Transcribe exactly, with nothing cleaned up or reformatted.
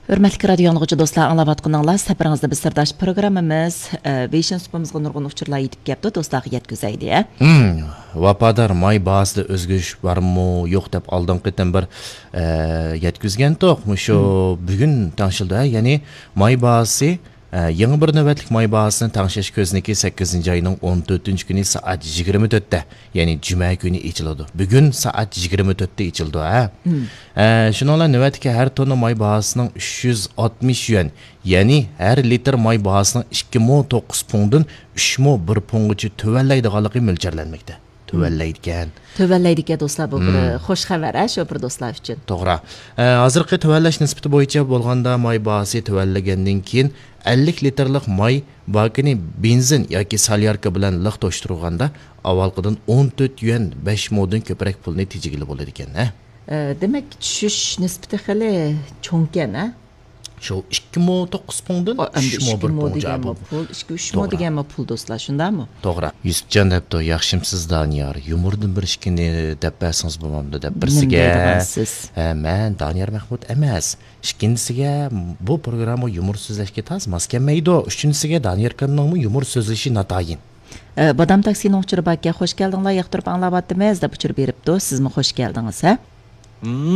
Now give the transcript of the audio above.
ھۆرمەتلىك رادىيو ئاڭلىغۇچى دوستلار، ئاڭلاۋاتقىنىڭلار سەپىرىڭىزدە بىز سىرداش پروگراممىمىز. ئە، ۋېيشىن سۇپىمىزغا نۇرغۇن ئۇچۇرلار يېتىپ كەپتۇ، دوستلارغا يەتكۈزەيلى، ھە؟ ھىم، ۋاپادار ماي باھاسىدا ئۆزگىرىش بارمۇ يوق دەپ ئالدىنقى قېتىم بىر، ئە، يەتكۈزگەنتۇق. مۇشۇ ھىم. بۈگۈن تەڭشىلدى، ھە؟ يەنى ماي باھاسى، ئە، يېڭى بىر نۆۋەتلىك ماي باھاسىنى تەڭشەش كۆزنىكى سەككىزىنچى ئاينىڭ ئون تۆتىنچى كۈنى سائەت يىگىرمە تۆتتە، يەنى جۈمە كۈنى ئېچىلىدۇ. بۈگۈن سائەت يىگىرمە تۆتتە ئېچىلىدۇ، ھە؟ ھىم. ئە، شۇنىڭ بىلەن نۆۋەتتىكى ھەر توننا ماي باھاسىنىڭ ئۈچ يۈز ئاتمىش يۈەن، يەنى ھەر لىتىر ماي باھاسىنىڭ ئىككى مو توققۇز پۇڭدىن ئۈچ مو بىر پۇڭغىچە تۆۋەنلەيدىغانلىقى مۆلچەرلەنمەكتە. تۆۋەنلەيدىكەن. تۆۋەنلەيدىكەن دوستلار، بۇ بىر مم. خوش خەۋەر، ھە، شوپۇر دوستلار ئۈچۈن. توغرا. ئە، ھازىرقى تۆۋەنلەش نىسبىتى بويىچە بولغاندا، ماي باھاسى تۆۋەنلىگەندىن كېيىن، ئەللىك لىتىرلىق ماي باكىنى بېنزىن ياكى سولياركا بىلەن لىق توشتۇرغاندا، ئاۋۋالقىدىن ئون تۆت يۈەن بەش مودىن كۆپرەك پۇلنى تېجىگىلى بولىدىكەن، ھە؟ ئە، دېمەك، چۈشۈش نىسبىتى خېلى چوڭكەن، ھە؟ شۇ ئىككى مو توققۇز پۇڭدىن ئا، ئەمدى ئۈچ مو ئىككى بىر مو پۇڭ دېگەنمۇ جابۇ. پۇل، ئىككى ئۈچ مو توغرا. دېگەنمۇ پۇل، دوستلار، شۇنداقمۇ؟ توغرا. يۈسۈپجان دەپتۇ، ياخشىمسىز دانىيار؟ يۇمۇردىن بىر ئىككىنى دەپ بەرسىڭىز بولمامدۇ دەپ نېمە بىرسىگە. دەيدىغانسىز؟ ھە، مەن دانىيار مەھمۇت ئەمەس. ئىككىنچىسىگە، بۇ پروگرامما يۇمۇر سۆزلەشكە تاز ماس كەلمەيدۇ. ئۈچىنچىسىگە، دانىيار ئاكامنىڭمۇ يۇمۇر سۆزلىشى ناتايىن. ئە، بادام تاكسىنىڭ ئۇچۇرى باركەن، خوش كەلدىڭلار، ياقتۇرۇپ ئاڭلاۋاتىمىز دەپ ئۇچۇر بېرىپتۇ. سىزمۇ خوش كەلدىڭىز، ھە؟